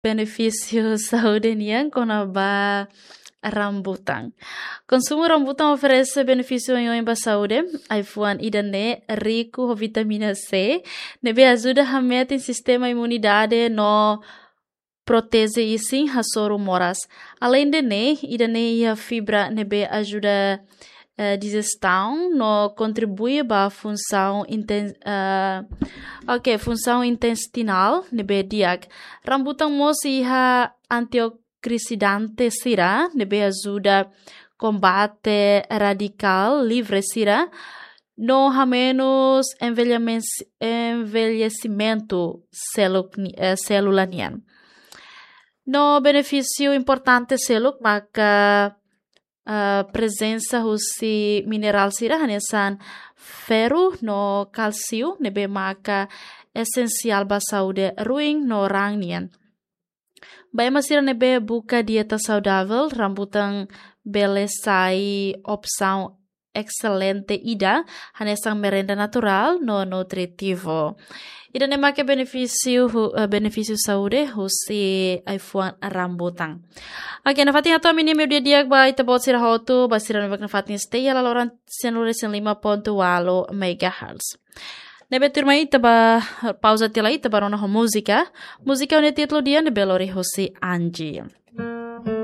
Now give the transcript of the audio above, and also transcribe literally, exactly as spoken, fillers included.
benefísiu saúde nian kona-ba rambutan. Konsumu rambutan oferese benefísiu oioin ba saúde. Ai-fuan ida-ne'e riku ho vitamina C, ne'ebé ajuda hametin sistema imunidade no proteje isin hasoru moras. Alende ne'e, ida-ne'e iha fibra ne'ebé ajuda eh, dijesaun no kontribui ba funsaun inten, eh, ok, funsaun intestinál ne'ebé di'ak. Rambutan mós iha antioksidante sira ne'ebé ajuda kombate radikál livre sira no hamenus envelhemen-, envelhesimentu seluk ni-, eh, sélula nian. No benefísiu importante seluk maka eh, prezensa husi minerál sira hanesan ferru no kálsiu ne'ebé maka esensiál ba saúde ruin no raan nian. Ba ema sira ne'ebé buka dieta saudável, rambutan bele sai opsaun excelente ida, hanesan merenda naturál no nutritivu. Ida-ne'e maka benefísiu hu-, eh, benefísiu saúde husi ai-fuan rambutan. Ok, nafatin atu ami-nia meiudia di'ak ba ita-boot sira hotu, ba sira ne'ebé nafatin stay iha laloran sianulu resin lima pontu ualu megahertz. Ne'ebé tuirmai ita ba pauza tiha lai, ita ba rona ho múzika. Múzika ho nia títulu di'ak ne'ebé lori husi Angie.